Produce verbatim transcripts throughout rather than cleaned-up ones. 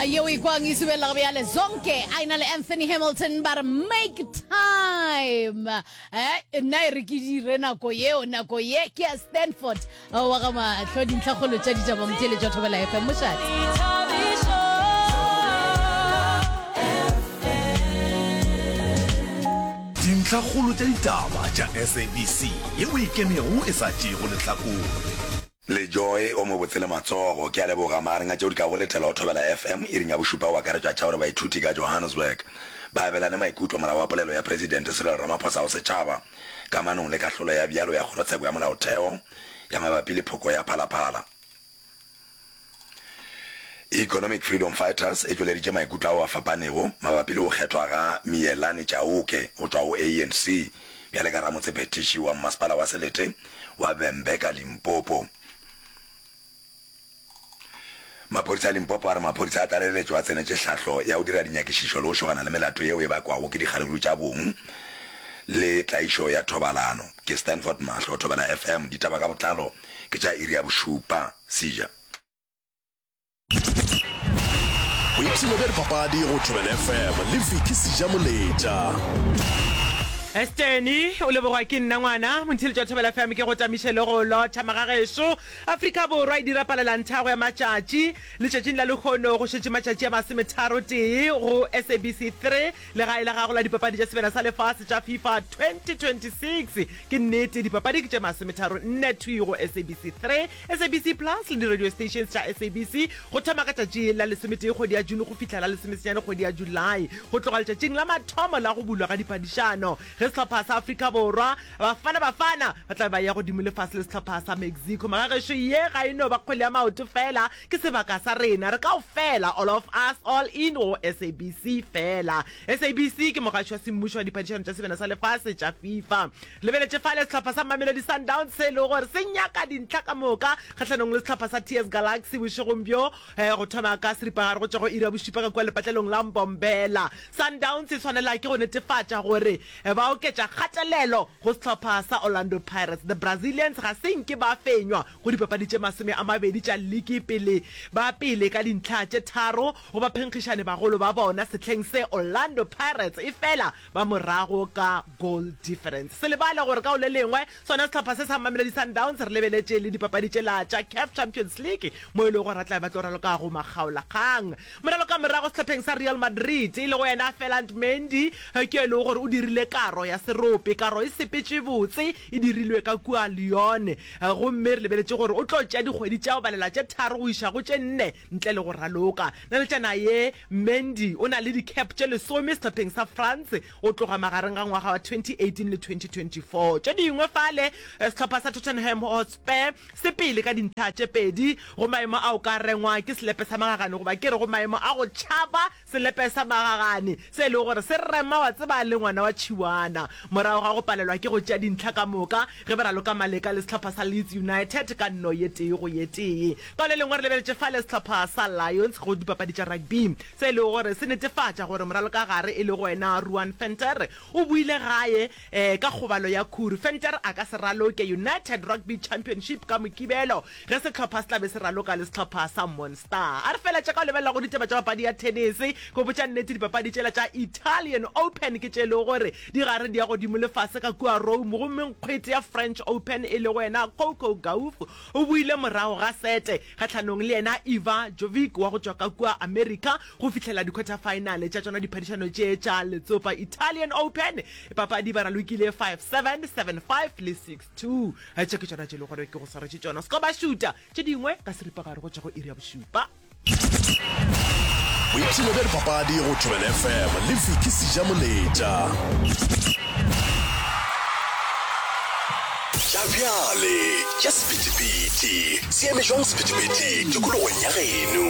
Yeo e kwang e subelela bjale Zonke a ena le Anthony Hamilton ba re make time. Eh, nna e re ke dire nako yeo, nako ye ke ya Stanford wa ga mahlo. Dintlhakgolo tša ditaba motheeletši wa Thobela F M, mošate. Dintlhakgolo tša ditaba tša S A B C yeo e ikemego e sa tšeego lehlakore. Le Joy o mobotse le matsogo. Ke a leboga. Magareng a tšeo di kago letela go Thobela F M iring ya bošupa go akaretšwa tša gore baithuti ka Johannesburg ba abelane maikutlo morago ga polelo ya Presidente Cyril Ramaphosa go setšhaba kamanong le kahlolo ya bjalo ya Kgorotsheko ya Molaotheo ya mabapi le phoko ya Phalaphala. Economic Freedom Fighters e tšweleditše maikutlo ao a fapanego mabapi le go kgethwa ga Miyelani Chauke go tšwa go A N C bjale ka ramotsephethiši wa mmasepala wa selete wa Vhembe ka Limpopo. Maphodisa a Limpopo a re maphodisa a tlaleletšo a tsenetše hlahlo ya go dira dinyakišišo le go šogana le melato yeo e bakwago ke dikgaruru tša bong le tlaišo ya thobalano. Ke Stanford Mahlo, Thobela F M, ditaba ka botlalo ke tša iri ya bošupa. Seja. Boipshino bja dipapadi go Thobela F M le Vicky Sejamoletša. Esteni o lebogwa ke nna ngwana montheletši wa Thobela F M, ke go tamiše le go lotšha magagešo. Afrika Borwa e dira palelanthago ya matšatši letšatšing la lehono, go šetše matšatši a masometharo tee go S A B C three, legae la gago la dipapadi tša Sebjana sa Lefase tša FIFA twenty twenty-six. Ke nnete, dipapadi ke tše masometharo nne thwi go S A B C three, S A B C Plus le di-radio stations tša S A B C, go thoma ka tšatši la lesometee kgwedi ya June go fihla la lesomesenyane kgwedi ya July, go tloga letšatšing la mathomo la go bulwa ga diphadišano, ge sehlopha sa Afrika Borwa, Bafana Bafana, ba tla be ba eya godimo lefase le sehlopha sa Mexico. Magagešo, ye ga e no ba kgwele ya maoto fela, ke sebaka sa rena re kaofela, all of us, all in go S A B C fela. S A B C ke mogaši wa semmušo wa diphadišano tša Sebjana sa Lefase tša FIFA. Lebeletše fale sehlopha sa Mamelodi Sundowns se e lego gore se nyaka dintlha ka moka kgahlanong le sehlopha sa T S Galaxy bošegong bjo go thoma ka seripagare go tšwa go iri ya bošupa ka kua lepatlelong la Mbombela. Sundowns e swanela ke go netefatša gore ba oketša kgatelelo go sehlopha sa Orlando Pirates. The Brazilians ga se nke ba fenywa go dipapadi tše masome a mabedi tša liki pele ba pele ka dintlha tše tharo go baphenkgišani bagolo ba bona sehleng se, Orlando Pirates, e fela ba morago ka goal difference. Se lebale gore ka go le lengwe sona sehlopha se sa Mamelodi Sundowns re lebeletše le dipapadi tšela tša CAF Champions League mo e lego gore ba tla be ba tlo raloka go makgaolakgang. Moraloka morago sehlopheng sa Real Madrid e lego yena Ferland Mendy ke yo e lego gore o dirile karo ya serope. Karo e sepetše botse, e dirilwe ka kua Lyon gomme re lebeletše gore o tlo tšea dikgwedi tša go balela tše tharo go iša go tše nne ntle le go raloka. Naletšana ye, Mendy o na le di-cap tše lesome sehlopheng sa France go tloga magareng ga ngwaga wa twenty eighteen le twenty twenty-four. Tše dingwe fale, sehlopha sa Tottenham Hotspur se pele ka dintlha tše pedi go maemo a o ka rengwa ke selepe sa magagane, goba ke re go maemo a go tšhaba selepe sa magagane se e lego gore se rema wa tseba le ngwana wa tšhiwana, morago ga go palelwa ke go tšea dintlha ka moka ge ba raloka maleka le sehlopha sa Leeds United ka nno ye tee go ye tee. Ka le lengwe re lebeletše fale sehlopha sa Lions go dipapadi tša rugby se e lego gore se netefatša gore moralokagare e lego wena Ruan Venter o boile gae ka kgobalo ya khuru. Venter a ka se raloke United Rugby Championship ka Mokibelo ge sehlopha se tla be se raloka le sehlopha sa Munster. A re feletše ka go lebelela go ditaba tša papadi ya tenese. Go botša nnete, dipapadi tšela tša Italian Open ke tše e lego gore di gare di ya godimo le fase ka kua Rome, gomme nkgwete ya French Open e lego yena Coco Gauff o boile morago ga sete kgahlanong le yena Iva Jovic wa go tšwa ka kua America go fihlela di-quarter final tša tšona diphadišano tše tša letsopa Italian Open. Papadi ba ralokile five seven, seven five le six two. Tše ke tšona tše e lego gore ke go swaretše tšona. Se ka ba šuta tše dingwe ka seripagare go tšwa go iri ya bošupa. Boipshino bja dipapadi go Thobela F M le Vicky Sejamoletša. Tša bjale tša sephethephethe se eme jwang sephethephethe tikologong ya geno?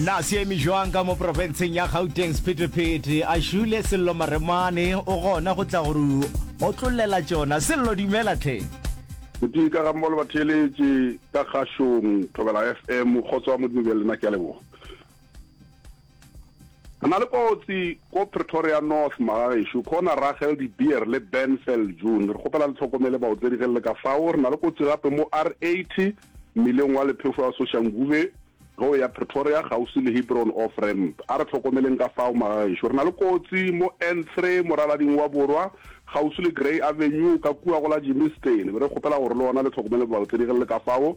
Na se eme jwang ka mo profenseng ya Gauteng sephethephethe? A šule Sello Maremane o gona go tla gore otlollela tšona. Sello, dumela tlhe. Botee ka ga mmogo le batheeletši ka kgašong Thobela F M, kgotso wa Modimo bja lena, ke a leboga. Re na le kotsi ko Pretoria North magagešo, corner Rachel de Beer le Ben June. Re kgopela le tlhokomele baotledi ge le le ka fao. Re na le kotsi gape mo R eighty mmileng wa Lephefo ya Soshanguve. Ge o ya Pretoria kgauswi le Hebron off ramp. A re hlokomeleng ka fao magagešo. Re na le kotsi mo N three moralading wa borwa kgauswi le Grey Avenue ka kua go la Germiston. Be re kgopela gore le gona le hlokomele baotledi ge le le ka fao.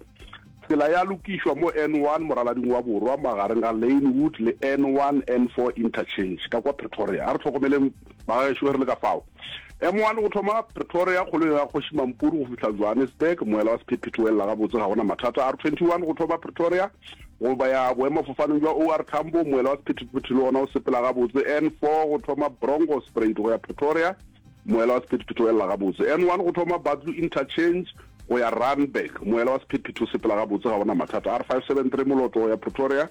Tsela ya lokišwa mo N one moralading wa borwa magareng ga Lanewood le N one N four interchange ka kwa Pretoria. A re hlokomeleng magagešo ge re le ka fao. M one go thoma Pretoria kgolong ya Kgoši Mampuru go fihla Johannesburg, moela wa sephethephethe o elela gabotse ga go na mathata. R twenty one go thoma Pretoria go ya boemafofaneng bja O R Tambo, moela wa sephethephethe le wona o sepela gabotse. N four go thoma Bronkhorstspruit go ya Pretoria, moela wa sephethephethe o elela gabotse. N one go thoma Buccleuch Interchange go ya Randburg, moela wa sephethephethe o sepela gabotse ga go na mathata. R five seven three Moloto go ya Pretoria,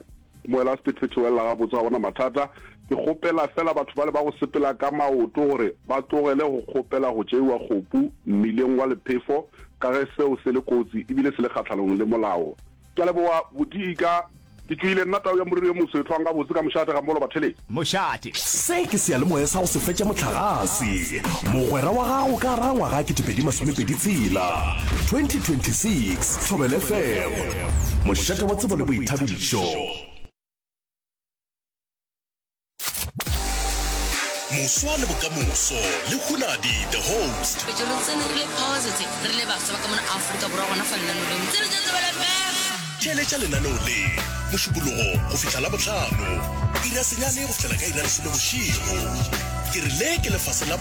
Moela wa sephethephethe o ella gabotse, ga go na mathata. Ke kgopela feela batho bale ba go sepela ka maoto gore ba tlogele go kgopela go tšeiwa kgopu mmileng wa lephefo ka ge seo se le kotsi ebile se le kgahlanong le molao. Ke a leboga Bodiika. Ke tšoile nna tau ya moriri yo moso e hlwang gabotse ka mošate ga molo batheletši. Mošate. Se ke seyalemoya sa go se fetša mohlagase, mogwera wa gago ka gare ga ngwaga ketepedi masomepedi tshela, twenty twenty six, Thobela F M, mošate wa tsebo le boithabišo. Moswa le bokamoso le Hunadi the host. Petše re tsene re le positive re le bafsa ba ka mona Afrika Borwa gona fa lenaneo leo. Tsene tša Thobela F M. Theeletša lenaneo le Mošupologo go fihla Labohlano, iri ya senyane go fihlela ka iri ya lesome bošego. Ke re le ke lefase la.